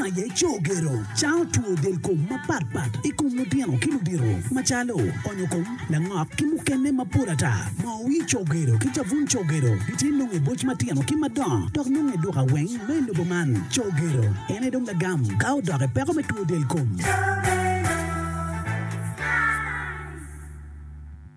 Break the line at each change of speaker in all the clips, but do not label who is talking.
aye Cogero, cango two del kom mapat pat i kom lutino ki ludito macalo onyo kom, langok ki mukene mapol ata. Moo wir Cogero ki cabun Cogero gitye nongo i boc matino ki madongo dok nongo i duka weng ma i lobo man. Cogero en aye dong lagam ka odok i peko me two del kom.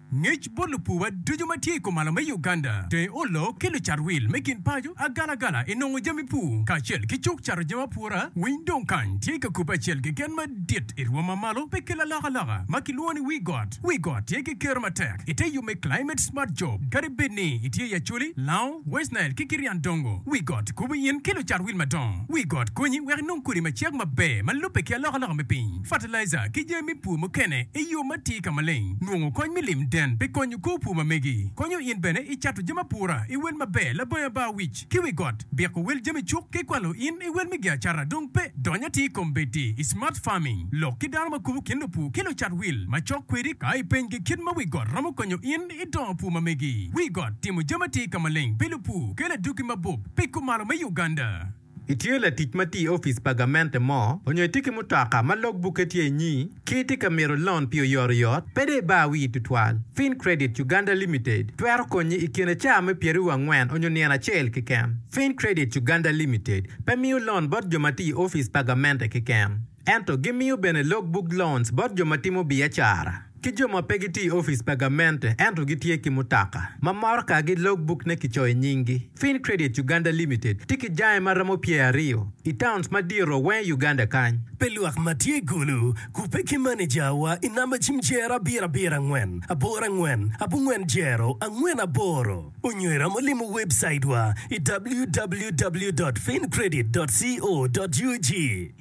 Ngec bot lupuwa ducu ma tye i kumalo me Uganda, Deng Ollo ki lucat wil me kin paco, agalagala i nongo jami pur kacel ki cuk cato jami apura, winy dong kany tye ka kubbe acel keken madit i rwom ma malo pi kelo alokaloka ma kilwongo ni wi got. Wi got tye ki kero matek ite yub me Climate Smart Job kadi bed ni itye i Acholi, Lango, West Nile ki Kirian Dongo. Wi got kubo in ki lucat wil madongo. Wi got konyi wek inong kodi macek maber ma lubbe ki alokaloka me piny, fertilizer ki jami me pur mukene i yo matir ka maleng. Nongo kony me lim den pi konyo kor pur ma megi. Konyo in bene i cato jami apura i wel maber labongo abar wic ki wi got. Biko wel jami cuk ki kwalo in i wel me giacara dong pe. Dony atir kombeddi i Smart Farming. Lok ki dano ma kubo kin lupur ki lucat wil ma cok kwedi ka ipenygi kit ma wi got romo konyo in i dongo pur ma megi. Wi got timo jami atir ka maleng pi lupur kelo adwogi mabup pi kumalo me Uganda.
Itye latic ma tye i opic pa gamente mo, onyo itye ki mutoka ma log bukke tye inyi, ki itye ka mito lon pi oyotoyot, pe dong ibar wii tutwal. Fincredit Uganda Limited twero konyi i kine caa me pyeraryo angwen onyo nino acel keken. Fincredit Uganda Limited pe miyo lon bot jo ma tye i opic pa gamente keken, ento gimiyo bene log book loans bot jo ma timo biacara. Ki jo ma pe gitye i opic pa gamente ento gitye ki mutoka ma motokagi logbuk-ne kicoyo nyinggi. Fincredit Uganda Limited tye ki jange ma romo pyeraryo i towns madito weng i Uganda kany.
Pi lwak ma tye i Gulu, kubbe ki manejawa i namba cim jero abiro abiro angwen aboro angwen abongwen jero angwen aboro onyo iromo limo webcaitwa i www dot fincredit dot co dot ug.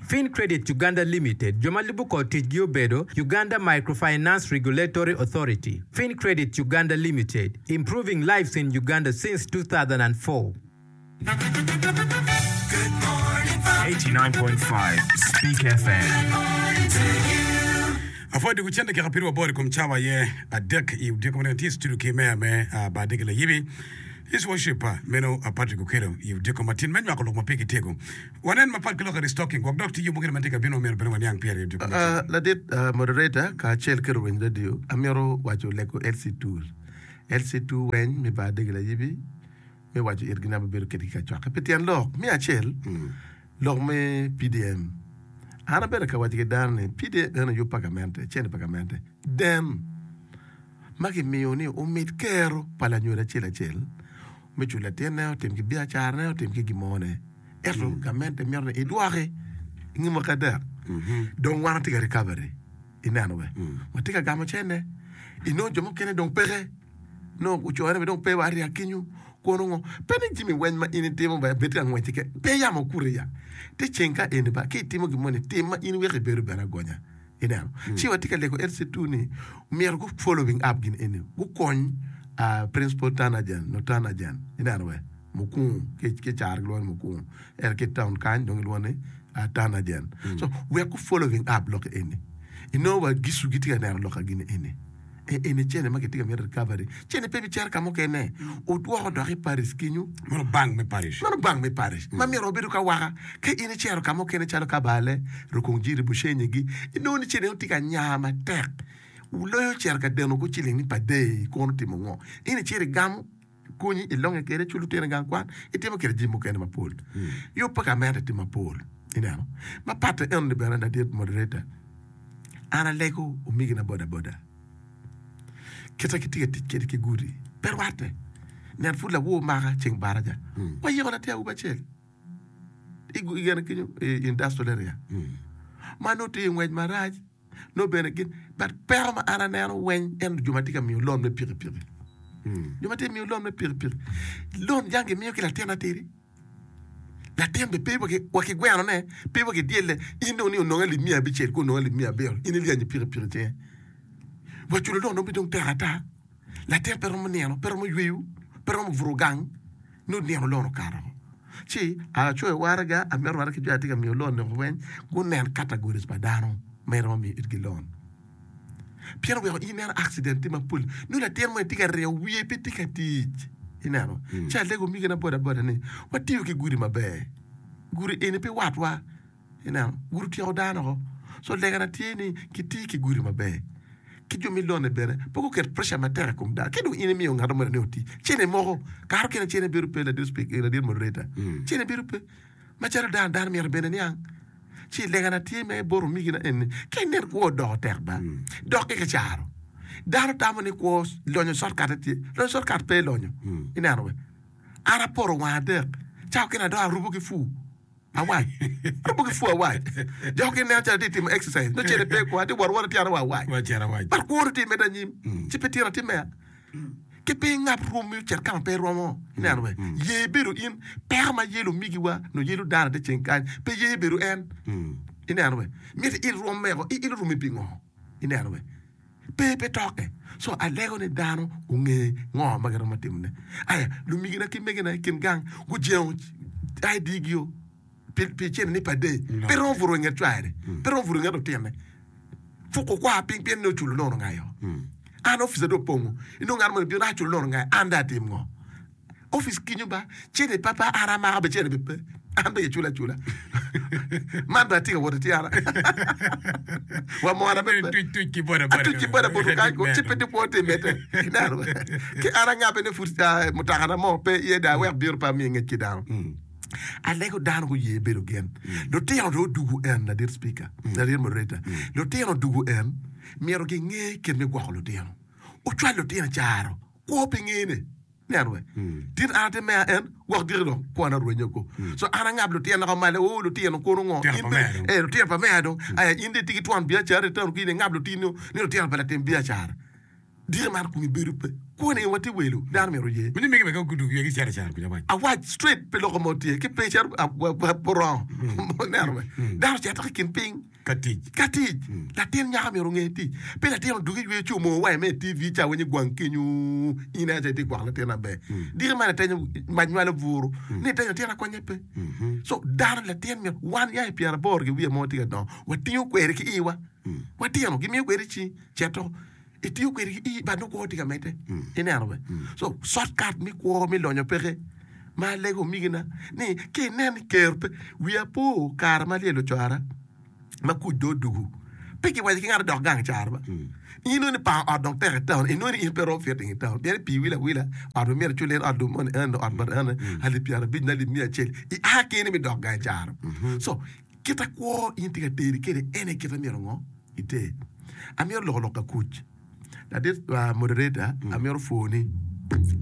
Fincredit Uganda Limited, jo ma lubo kor ticgi obedo, Uganda Microfinance Regulatory Authority, Fincredit Uganda Limited, Improving lives in Uganda since 2004.
89.5 Speak FM.
Apwoyo dwogo cen dakika piru aboro i kom cawa aye adek i odiko manene tye i studio ki meya me bar dege layibi His Worship meno Patrick Okello i odiko matin me nywako lok ma pigi tego. Wanen mapat ki lok i restocking gwok dok tye yub mukene ma tye ka bino ma myero bene waniang pire i odiko matin.
Ladit moderator kacel ki luwiny radio amito waco lego LC tool LC tool weny me bar dege layibi me waco itgi ni abibedo kedgi ka cokke pi tyen lok me acel lok me PDM an abedo ka waco ki dano ni PDM eno yub pa gamente cente pa gamente den ma kimiyo ni omit kero pa lanyodo acel acel me culo latinne, otim ki biacarane, otim ki gin mone. Ento gamente mito ni idwoki i nge mwaki adek. Dong wan watye ka recovery, ineno be? Watye ka gamo cene. Inongo jo mukene dong peke, nongo ocone bene dong pe wa ariya kenyo, kono ngo. Pe ni jami weng ma in itimo bene bed ka ngwec keken, pe yamo okuti ya. Te ceng ka eni ba, ka itimo gin moni, tim ma in weko ibedo bene agonya. Ineno? Ci watye ka lego LC2 ni myero gu following up gin eni, gukony Principal Tanajan, no Tanajan, ineno we, Mukungu, ki ki caro gilwongo ni Mukungu, ento ki i town kany dong gilwongo ni Tanajan. So wek gu following up lok eni. Inongo wa Gisu gitye ka neno lok ka gin eni. E eni cene ma kitye ka mito recovery. Cene pe bicito ka mukene. Odwoko dok i parish kenyo.
Meno bank me parish.
Meno bank me parish. Ma myero wabedo ka waka. Ka in icito ka mukene calo Kabale, Rukungiri, Bushenyi-gi, inongo ni cene tye ka nya matek. Loyo cito ka deno kor ciling ni per day kono timo ngo? In icito igamo konyi ilonge kwede, iculo lutino i gang kwan, itimo kwede jami mukene mapol. Yub pa gamente tye mapol, ineno. Ma patte enoni bene ladit moderator, an alego omegina boda boda kite gitye ka tic kwede ki gudi pe rwatte. Nen pud lawor maka ceng baraja, wayiko latin awobi acel i gine kenyo i industrial area ma nongo tye i ngwec marac. nongo bene gin but peko ma an aneno weng en jo ma tye ka miyo loan me pikipiki jo ma tye ka miyo loan me pikipiki loan jang gimiyo ki latin atidi latin bene pe wa ki gweno ne pe wa ki dyelle in dong ni onongo alip miya abicel ki onongo alip miya abiro in ilyanyo pikipiki i cinge wa culo loan dong pe dong tek ata latin pe romo nino pe romo yweyo pe romo buto gang nongo nino loan okato woko. Ci acoyo waraga, amito waraga ki jo atye ka miyo loan ni weng gunen categories pa dano ma iromo miyo itgi loan. Pien oweko in ineno accident tye mapol, nongo latin moni tye ka ringo wiye pe tye ka tic. Ineno? Ci alego omegina boda boda ni watiyo ki gudi maber. Gudi eni pe watwa. Ineno, gudi otyeko dano oko. So legana tye ni kiti ki gudi maber. Ki jo me lone bene pe guket pressure matek i kom dano. Ka dong in imiyo ngat moni ni oti, cene moko kato kene cene bedo pe ladit speaker, ladit moderator. Cene bedo pe. Macalo dano, dano myero bene niang. Ci legana tye me bot omegina eni, ka inen kwo odoko tek ba, dok ki kicaro. Dano tamo ni kwo lonyo shortcut tye. Lonyo shortcut pe lonyo. Ineno we. An apoto wang adek, cawa kene adok arubo ki pur. Awac. Arubo ki pur awac. Jo mukene neno calo atye ka timo exercise. Nongo cene pe kwo, atye ka wot awota tyena wa awac. But kwo dong tye ka medde anyim. Ci pe tyen atimme. Ki pe ingab rwom ocit ka ma pe iromo. Ineno be? Ye bedo in. Peko ma yelo omigiwa nyo yelo dano ite ceng kany pe ye bedo en. Ineno be? Miti iil rwom meko, iilo rwomi pingo? Ineno be? Pe pe tokke. So alego ni dano onge ngo ma giromo timone. Aya, lumigina ki megina i kin gang gujengo ID gio pi pi cene ni per day. Pe romo buto i nget cware, pe romo buto i nget lutine. Puko kwar piny pien ni oculo loan ongayo. An opica dong opongo. Inongo ngat moni bino aculo loan ongayo, an dong atim ngo? Opic kinyo ba cene pa pa an amako be cene be pe an be iculo acula man be atye ka wot ityara wa mona be pe
Tuc tuc ki boda boda.
atuc ki boda boda kany ko ci pe tye kwo tye mete ineno ki an angabe ni pud ah, mutoka na mo pe iye dong awek bino pe amiye ngec ki dano alego dano guye bedo gen lutino dong odugu en ladit speaker ladit moderator lutino odugu en myero ginge kit me gwoko lutino ocwal lutino i caro kwo pe ngene Neno we. Tin an atye meya en gwok diki dong kwona orwenyo ko. So an angab lutino ko malo oo lutino kono ngo.
Lutino pa meya dong.
Eh lutino pa meya dong. Aya in dong itye ki twon biacara itono ki in ingab lutino ni lutino pa latim biacara. Diki man komi bedo pe. Kwoni en watye welo dano myero oye.
Mini mege bene ka gudug ywegi cito caro kuca wac.
Awac straight pe loko mo tye ki pe cito purongo. Neno we. Dano cito ki kin piny.
Ka tic.
Ka tic. Latin nyako myero onge tic. Pe latin odugi yweyo ci omoo wa i TV ca winyo gwang kenyo in aye itye gwoko latin maber. Diki man itenyo mac nywalo buru ni itenyo latin akonye pe. So dano latin myero wan ya i pyeraboro ki wiye mo tye ka dongo watingo kweri ki iwa. Watino gimiyo kweri ci cito itiyo kwede ki ii but nongo kwo tye ka medde. Ineno be? So shortcut me kwo me lonyo peke. Ma alego omegina ni ka inen ni ker pe, wiya po kare ma alyelo cwara ma kuc dong odugu pe kiwaco ki ngat odok gang caro ba. In inongo ni pango ot dong tek i taun, inongo ni in pe iromo fitting i taun pien pii wil awila ot ma myero icul in ot lum moni eno ot bot ene alip pyerabic nyo alip miya acel ia keni me dok gang caro. So kita kwo in tye ka teri kwede en aye kite myero ngo iter. Amito loko lok ka kuc. Ladit moderator amito pwoni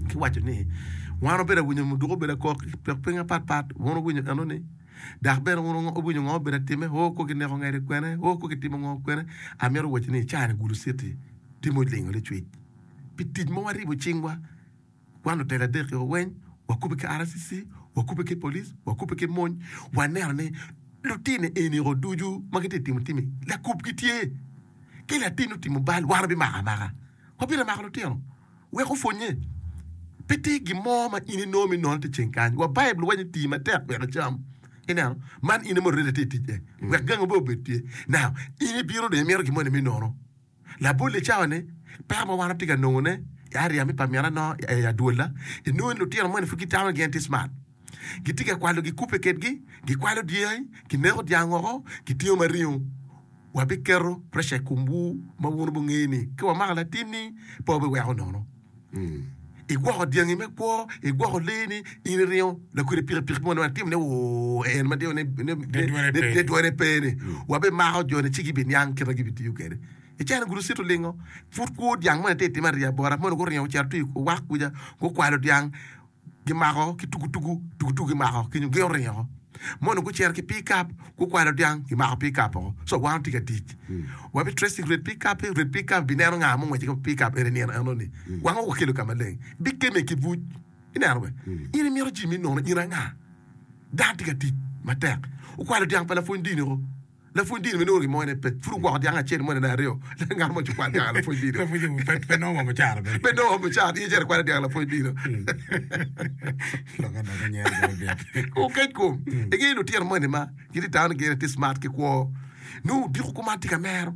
ki waco ni wan obedo awinyo muduku obedo akok i pek piny mapat pat wun wuwinyo eno ni dok bene wun wuwinyo ngo obedo atime oo ko kineko ngede kwene oo ko kitimo ngo kwene amito waco ni cani Gulu city tye ma olingo licwic pi tic ma waribo cingwa Wan lutela adek-ki weng wakubbe ki RCC, wakubbe ki police, wakubbe ki mony, waneno ni lutino eni-o ducu ma gitye ka timo tim-mi lakubgi tye. Ka latin otimo bal, wan wabimako amaka. Wabino mako lutino wek opwonnye. Pe tye gin mo ma in inongo me nono tye ceng kany. Wa Baibul waco ni ti matek wek icam. Ineno? Man in aye already itye i tic-ce. Wek gangi bene obed tye. Now, in ibino dong imito gin moni me nono. Labolle i cawa-ni, peko ma wan watye ka nongone i area me pa mina nongo i adwolla, inongo ni lutino moni pud gitamo ni gin tye smart. Gitye ka kwalo gikubbe kedgi, gikwalo dyangi, gineko dyang woko, gitingo ma ringo. Wabiketo pressure i komwu ma wun wubingeyo ni ka wamako latinni pe wabiweko nono. Igwoko dyangi me kwo, igwoko leeni, in iringo lakwede pikipiki mo ni timo ne woo en ma timo ne dwone pe-ni. Wabimako joni ci gibiniang kit ma gibitiyo kwede. I cene gurucito lingo, pud kwo dyang moni tye itimo ariya bota moni guringo ocito tye i owak kuca gukwalo dyang. Gimako ki tugutugu, tugutugu gimako kenyo gin oringo. Mono gucito ki pikap, gukwalo dyang, gimako pikap oko. So wan watye ka tic. Wabi tracing red pikap, red pikap bineno nga mungweco ki pikap eni nino eno ni. Wang o wakelo ka maleng. Bikeme ki buc. Ineno be? In imito jami me nono in anga? Dano tye ka tic matek. Okwalo dyang pa lapwony dini oko. Lapwony dini me nongo gin mo ene pe. Pud ogwoko dyang acel moni nyo aryo. Ngat mo ci okwalo dyang lapwony dini.
Lapwony dini pe nongo wa mucara bene.
Pe nongo wa mucara. In icito ikwalo dyang lapwony dini.
Lok ada nyero bene byek.
Okec kom. Ingeyo lutino moni ma gitye taun gin tye smart ki kwo. Nongo odiko kuman tye ka mero.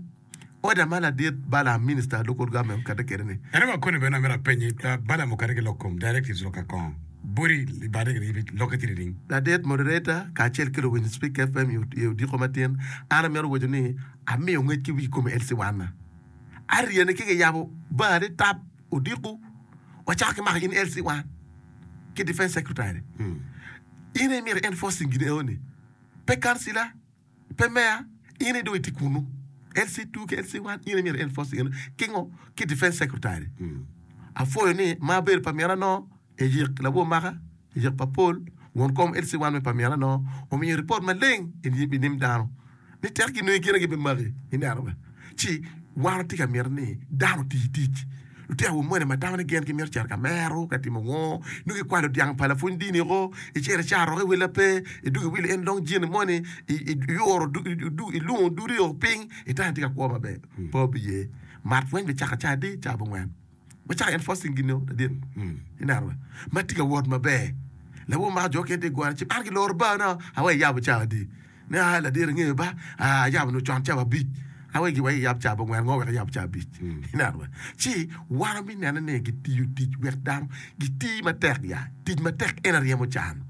Order ma ladit Balaam minister local government okete kwede ni.
Ento wa koni bene amito apenyi, Balaam okete ki lok kom directives lok ka kongo. Boti i bade lokke tye nining?
Ladit moderator kacel ki luwiny Speak FM i odiko matin, an amito waco ni amiyo ngec ki wi kome LC wan-na. Aryene ki giyabo bar ni tap odiko wacako ki mako in LC wan ki defense secretary. In aye myero i enforcing gin eno ni. Pe councilor. Pe meya, in aye dong itye kunu. LC2 ki LC1 in aye myero i enforce eno. Ki ngo? Ki defense secretary. Apwoyo ni ma abedo pa mina no eyik lawor maka, eyik pa Paul, won kom LC1 me pa mina no omiyo report maleng i nyim dano ni tek ginongi gin aye gibimaki. Ineno be? Ci wan watye ka mito ni dano oti tic. Lutino awobe moni ma tamo ni gin gimito cito ka mero, ka timo ngo, nongo ikwalo dyang pa lapwony dini oko, icito icaro woko i willa pe, idwogo iwilo en long jini moni, iyuro ilungo dudi o piny, itamo itye ka kwo maber. Pe obiye. Mat weng bicako ca adi? Ca abongwen. Wacako enforcing gin o ladit. Ineno be? Ma tye ka wot maber. Lawor mako jo okene tye ka gore ci an giloro bar na awe iyabo ca adi? Ni aa ladit ingeyo ba aa ayabo nongo con cawa abic awe gi wek iyab cawa abongwen ngo wek iyab cawa abic ineno ba ci wan wami nene ni gitiyo tic wek dano giti matek ya tic matek en aryemo can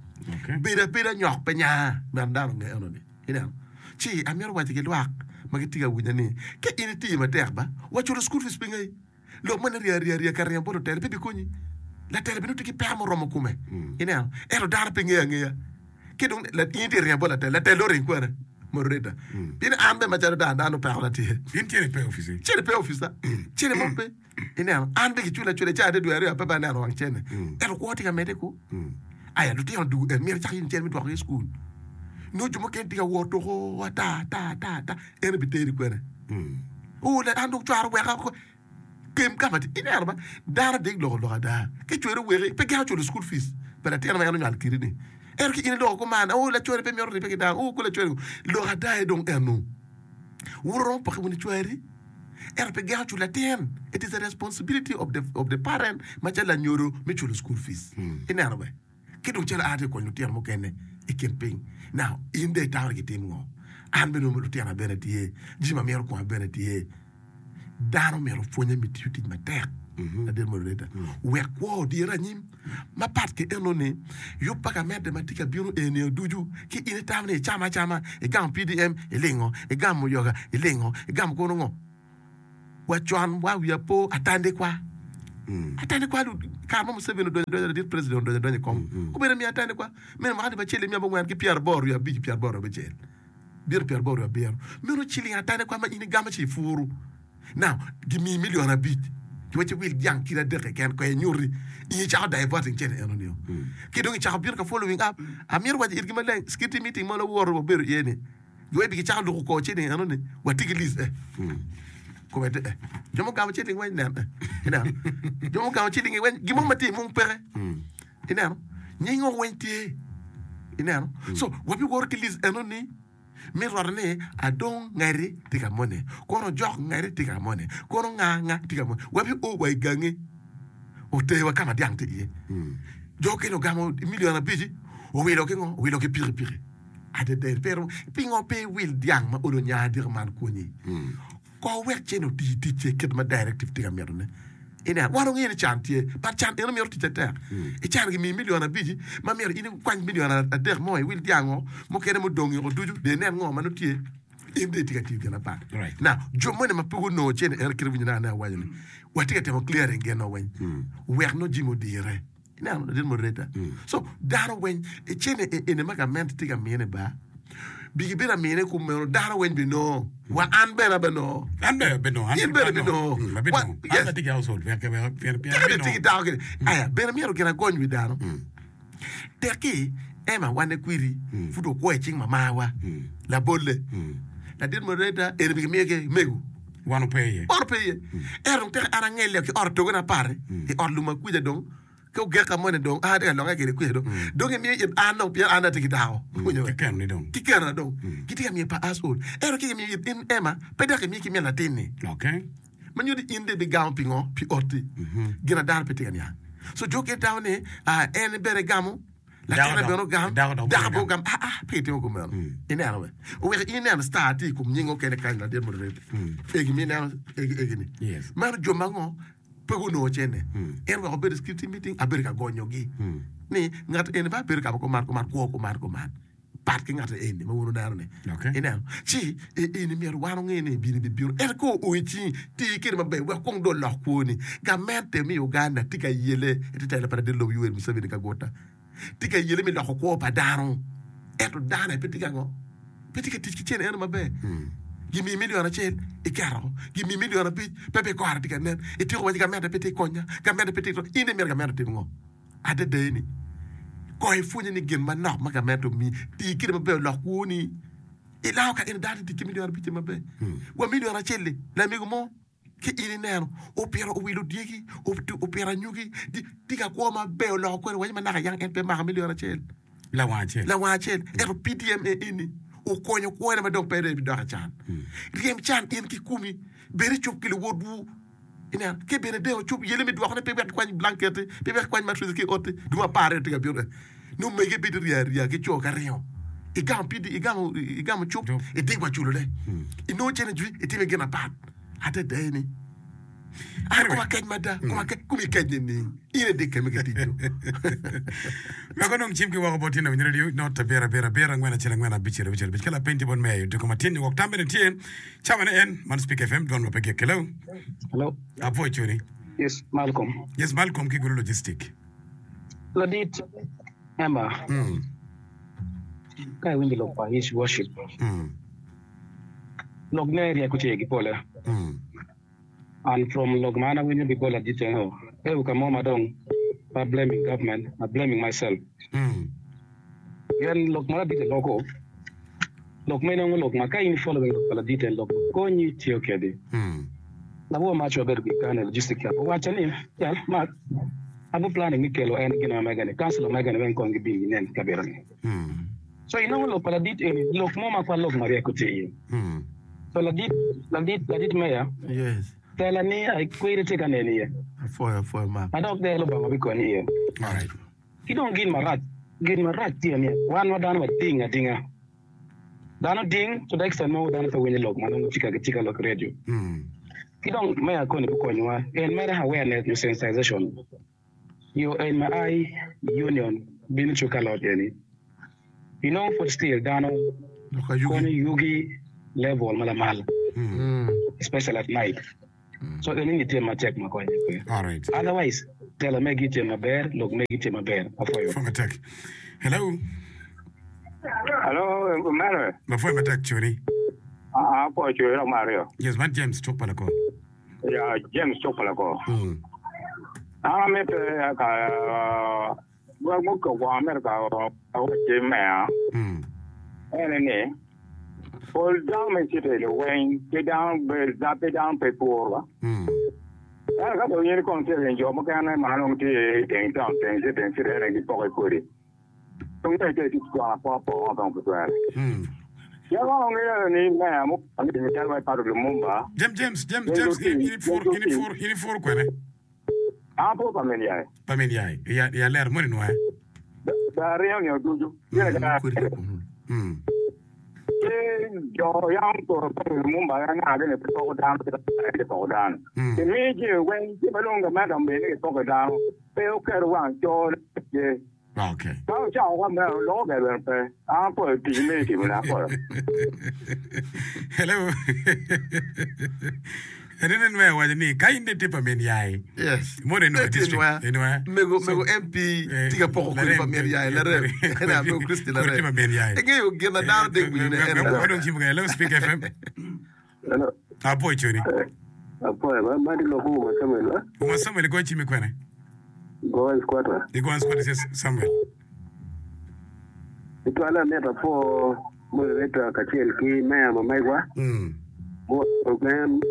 bedo abeda nyok pe nya myero dano onge eno ni ineno ci amito waco ki lwak ma gitye ka winya ni ka in itiyo matek ba wa culo school fees pinge. Lok moni rya rya rya ka ringo bot lutela pe bikonyi. Latela bene tye ki peko muromo kome. Ineno? Ento dano pe ngeyo angeya. Ki dong in itye ka ringo bot latela, latela dong oring kwene? Moderator. Pien an bene macalo dano, dano pekona tye.
In cene pe i opici?
Cene pe i opica. Cene mo pe. Ineno? An bene kicula acula i cawa adek dwe aryo pe bene aneno wang cene. Ento kwo tye ka medde ku. Aya lutino dugu en myero icak yenyo cene me dwokogi i cukul. Nongo jo mukene tye ka wot tuko ata ata ata ata en obiteri kwene? Oo, an dong cwara oweka oko. Kem ka ma tye. Ineno ba, dano dek loko lok ada. Ki cweri oweki, pe geno culo school fees pa latin ma en onywalo kidi ni. Ento ki in iloko kuman, oo lacwari pe mito ribbe ki dano, oo ku lacwari. Lok ada aye dong eno. Wun wuromo poke wunu cwari, ento pe geno culo latin. It is a responsibility of the, of the parent macalo lanyodo me culo school fees. Ineno be? Ki dong calo an atye ka konyo lutino mukene i kin piny. Now, in dong itamo ni gitim ngo? An bene lutina bene tye, jami ma mito koma bene tye. Dano myero opwonye me tiyo tic matek, ladit moderator, wek kwo odire anyim. Mapat ki eno ni, yub pa gamente ma tye ka bino eni ducu, ki in itamo ni icamo acama, igamo PDM, ilingo, igamo muyoga, ilingo, igamo kono ngo? Wa con wa wiya po atandikwa. Atandikwa kare mo Museveni odonyo adonya ladit president odonyo adonya i kom. Obedo miyo atandikwa. Meno mwaka alip acel miya abongwen ki pyeraboro wiye abic pyeraboro abicel. Bito pyeraboro wiye abiro. Meno ciling atandikwa ma in igamo ci ipuru. Now gimiyi milion abic giwacci wil dyang kilo adek keken kong inyuti in icako diverting cene eno nio. Ki dong icako bino ka following up. Amito waco itgi maleng security meeting mo lawoto wabedo iye ni. Giweko gicako luko kor ciling eno ni watye ki list eh kome tye eh jo mugamo ciling weng nen eh ineno jo mugamo ciling weng gin mo ma tye i mung peke ineno nying o weng tye ineno so wabiwoto ki list eno ni me roto ni adong ngati tye ka moni kono ojok ngati tye ka moni kono nga nga tye ka moni wabi o wa i gangi oterwa ka ma dyang tye iye jo okene ogamo milion abici owilo ki ngo owilo ki pikipiki. Adada pe romo. Pingo pe iwil dyang ma olo nya adika man konyi? Ko wek cen oti ticce kit ma directive tye ka mitone. Ineno, wan wangeyo ni can tye, but can eno mito tic matek. I can gimiyi milion abici ma myero in ikwany milion adek mo iwil dyang-ngo, mukene mudong yoko ducu dong inen ngo ma nongo tye. In dong itye ka tiyo gin apat. Now, jo moni ma pe gunongo cene eno kit ma iwinyo naka awaco ni watye ka timo clearing gin-no weng wek nongo jami odire. Ineno ladit moderator? So dano weng icene eni ma gamente tye ka mine ba bigi bedo amine kumeno dano weng binongo wa an bene abenongo.
An bene abinongo. An
In bene ibinongo.
Mm, abinongo.
Wa- yes.
An atye ki household wek wek pien pien
Tika
abinongo.
tye ki dako kede. Aya bene myero gin agony wi dano. Tekki Emma wane kwiri pud okwo i cing mamawa. Labolle. Ladit moderator eni bigi miyo ki mego.
Wan ope iye.
Ot pe iye. Ento dong teke an angelle ki ot otogona apar-ri, i ot lum akwica dong, ki ogeka moni dong, an atye ka lokke kwede kwica dong. Dong gimiyo it an dong pien an dong atye ki dako. Iwinyo?
Ki kenoni dong.
Ki kenona dong. Gitye ka miyo pa household. Ento ka gimiyo it in Emma, pe dok gimiyo ki min latin-ni.
Okay.
Ma nyuto ni in dong ibigamo pingo? Pi otti. Gin a dano pe tye ka niang. So jo okene tamo ni, ah, en bene egamo. Latinne bene ogam, dako bene ogam, aa, pe gitimo kumeno. Ineno be? Oweko in ineno star tye i kom nying okene kany ladit moderator. Egi mi ineno egi egi ni. Meno jo ma ngo pe gunongo cene. En weko obedo i security meeting abedo ka gonyogi. Ni ngat eni ba bedo ka ma kuman kuman kwo kuman kuman pat ki ngat eni ma wun wuneno ni.
Okay.
Ineno? Ci e eni myero wan onge ni bino bibino. Ento ka oo i cingi, ti kede maber wek kong dong olok kwoni. Gamente me Uganda tye ka yele i te tela pa ladit lobo Yoweri Museveni Kaguta. Tye ka yele me loko kwo pa dano. Ento dano aye pe tye ka ngo? Pe tye ka tic ki cente eno maber. Gimiyi milion acel, iketo. Gimiyi milion abic, pe bikore tye ka nen. Ityeko waci gamente pe tye ka konya, gamente pe tye ka. In imito gamente otim ngo? Adada-ni, kong ipwonye ni gin manok ma gamente omiyi, ti kwede maber olok kwoni. Ilao ka in dano tic ki milion abicce maber, wa milion acel-li, lamego mo ki in ineno opito owilo dyegi, opito anyogi, tye ka kwo maber oloko kwene waci ma naka yang en pe mako milion acel.
Lawang acel.
Lawang acel. Ento PDMA eni okonyo kwone ma dong pe dong ebidok i can. Ryem can in kikomi, bed icup ki luwotwu. Ineno, ki bene dong ocup yelle me dwokone pe wek ikwany blanket-ti, pe wek ikwany matrec ki i ot-ti, dong aparre tye ka bino. Nongo mege bedo rya arya ki co ka ringo. Igamo PD, igamo, igamo cup, iding wa culone. Inongo cene jwi, itime gin apat. Adada eni. An koma kec mada, koma kec, komi kec nining? In idik keme ki tic do.
Wek onong cim ki woko bot tyen awinyo radio not abiro abiro abiro angwen acel angwen abicel abicel abic ka lapeny tye bot meya odiko matin wok tam bene tye Cawa ne en, man Speak FM, dwon ma pe gik. Hello.
Hello.
Apwoyo coni.
Yes, Malcolm.
Yes, Malcolm ki Gulu Logistic.
Ladit Emma.
Mm.
Ka iwinjo lok pa His Worship.
Mm.
Lok ne ryeko tye gi pole.
Mm.
And from lok ma an awinyo ki bot ladit eno, pe ka mo ma dong pe a blaming government, a blaming myself.
Mm.
Pien lok ma ladite loko, lok ma inongo lok ma ka in i following lok pa ladite en lok ma konyi tiyo kedi. Labongo mac wabedo ki Uganda Logistic Club owacca ni, Jal, Mark, abo planning me kelo en gin ma mega ni, councilor mega ni weng kong gibin ginen kabedo ni. So inongo lok pa ladit eni lok mo ma kwa lok ma ryeko tye iye. So ladit, ladit, ladit meya,
Yes.
tela ni ai kweri tye ka nen iye.
Apwoyo, apwoyo Mark.
Ma dok dee Lubanga bikonyi iye.
Alright.
Ki dong gin marac, gin marac tye ni wan ma dano wading adinga. Dano ding to the extent mogo dano pe winyo lok ma nongo tye ka gitye ka lok i radio. Ki dong me akoni gukonyowa en mere awareness nyo sensitization yo en ma ai union bino cuk ka lot eni. Inongo pud still dano konyo yugi level ma lamal especially at night. So eni ni tye matek ma konye pe.
Alright.
Otherwise telo megi tye maber, lok megi tye maber. Apwoyo.
Pwoyo matek. Hello.
Hello, omera.
Apwoyo matek coni.
Ah, apwoyo coni dok Mario.
Yes, man James cuk pa lakor.
Ya, James cuk pa lakor.
Mm.
An amite ka Gwok mukobo amito ka awacci meya ene ni, pol dano me citi-ni weng pe dano pe dano pe puro ba. Ento ka dong in kong itye ka jo mukene ma nongo tye i teng taun teng citi teng citi ene gipoko i kodi dong ka itye ka tic gweng apoka poka dong pe twere. Pien wang ongeyo ni meya mukene calo wai Patrick Lumumba
James James James James in ipuro in ipuro kwene?
An apuro pa min yai.
Pa min yai. I alero moni nwoya.
Da ringo nino ducu. Ci jo yam oturo pa Lumumba anga gini pe poko dano kit ma gipoko dano. Gimiyo jami weng ci ma dong gamente omiyo ni gipoko dano pe oketo wang coo ne.
Okay.
Ka ocako ka meno, loko ber bene pe. An apwoyo tic me itimone, apwoyo.
Hello. Enene nwe owaco ni ka in itye pa min yai.
Yes.
Mono inwe
Tye
district.
inwe.
Inwe.
Mego
So,
mego MP
eh,
tye ka poko kodi
larem.
pa min yai larem.
Kodi
Ene mego Christy
kodi tye
larem.
pa min yai.
Ingeyo gin na dano dek winyo ne en
Wek wadong cim kene. Hello Speak FM.
Hello.
Apwoyo coni.
Apwoyo ba, madi lok Uma Samuel ba.
Uma Samuel igoyo cim ikwene?
Gowan squatter.
Igowan squatter ci Samuel.
Tutwalle amito apwo moderator kacel ki meya ma megwa.
Mm.
Guweko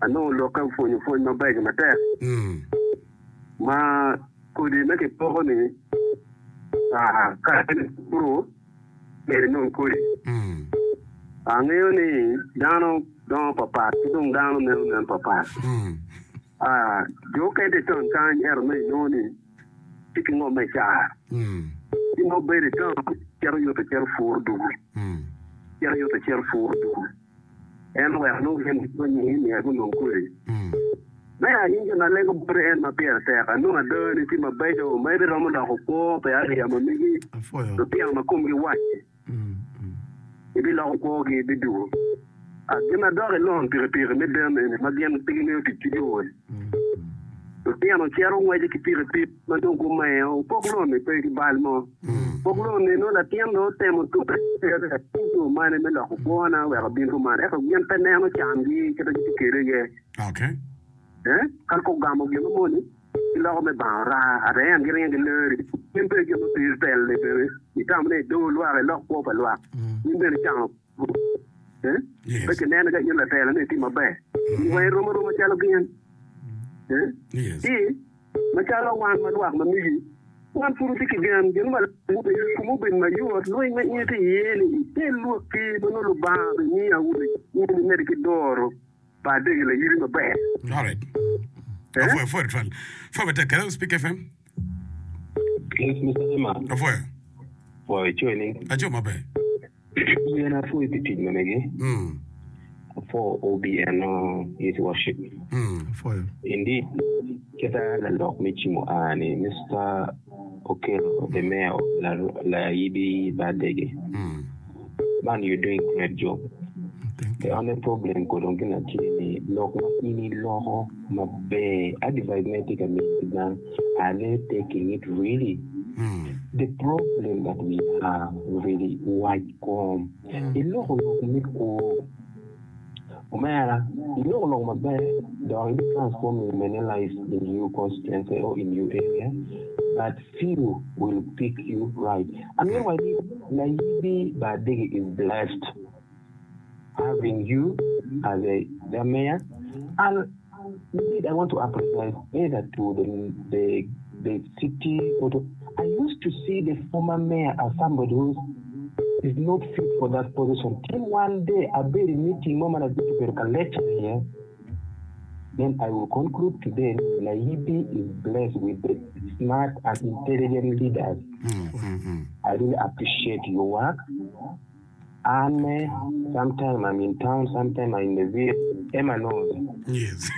anongo lokke opwonyo pwony mabeco matek.
Mm.
Ma kodi me kipoko ni ah, ka en puro myero inong kodi. Angeyo ni dano dongo papat ki dong dano neno nen papat. Jo okene tye i taun kany ento nongo inongo ni tye ki ngom me car. Ci nongo bedo i taun cito yuto cito puro dugu, cito yuto cito puro dugu. En oweko nongo gin gipwonye ni myero gunong kodi. Meya in gin alego boti en ma pire tek, anongo adani tye mabeco ma ibiromo loko kwo pa area ma megi lutino ma komgi wac-ci. Ibiloko kwogi ibidugo. Gin adok i lon pikipiki me den eni ma gin pe gingeyo tic ki yo-ni. Lutino cito ngweco ki pikipiki ma dong gumengo. Pok lon-ni pe ki bal mo. Pok lon-ni nongo latin dong otemo tute yo mane me loko kwona wek obin kuman ento gin pe neno cangi kit ma gitye kwede iye. Ka gugamo gin moni, giloko me bango raa, ata en giringo gileri. In bene gin ma piri tel-li bene itamo ni idor lwak, ilok kwo pa lwak. In bene icano pe kineno ka in latela ni itye maber. In weng irom aroma calo gin. Ci macalo wan ma lwak ma migi, wan pud watye ki gen, gin ma kom obed mayot, lweny ma in itye iye-ni ikel lwakki ma nongo Lubanga bimiyo awobe in imedde ki doro. Pa adegi layiri maber.
Alright. Apwoyo, apwoyo twal. Pwoyo matek. Hello, Speak FM.
Yes, Mr. Emma.
Apwoyo.
Pwoyo icoyo ni.
Aco maber.
Yen apwoyo pi tic ma megi.
Mm.
Apwoyo OBN o his worship.
Mm.
Apwoyo.
Indeed, kita lalok me cimo a ni Mister Okello, the mayor of Layibi Badege.
Mm.
Man you doing great job. The only problem ko dong gin atye ni lok ma in iloko maber advice ma itye ka miyo ki dano are they taking it really? The problem that we have really wac kom iloko lok me kwo omera iloko lok maber dok ibi transforming many lives in you constituency or in you area but few will pick you right amito waci ni layibi bar dege is blessed having you as a their mayor and indeed I want to apologize either to the the the city or to I used to see the former mayor as somebody who is not fit for that position till one day abedo i meeting mo ma ladit obedo ka lecture iye then I will conclude today ni Layibi is blessed with the smart and intelligent leaders I really appreciate your work An me, sometime I'm in town, sometime I'm in the village, Emma knows.
Yes.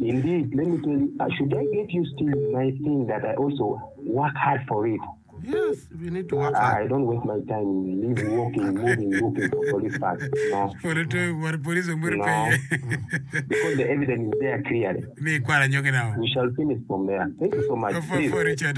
Indeed, let me tell you, uh, should I get used to my thing that I also work hard for it?
Yes, we need to work hard.
I don't waste my time live walking, moving, looking for police park. No.
Polo to war police omwero
No.
pe.
Because the evidence is there clearly.
Ni kwara nyogi now.
We shall finish from there. Thank you so much.
For,
Please.
for Richard.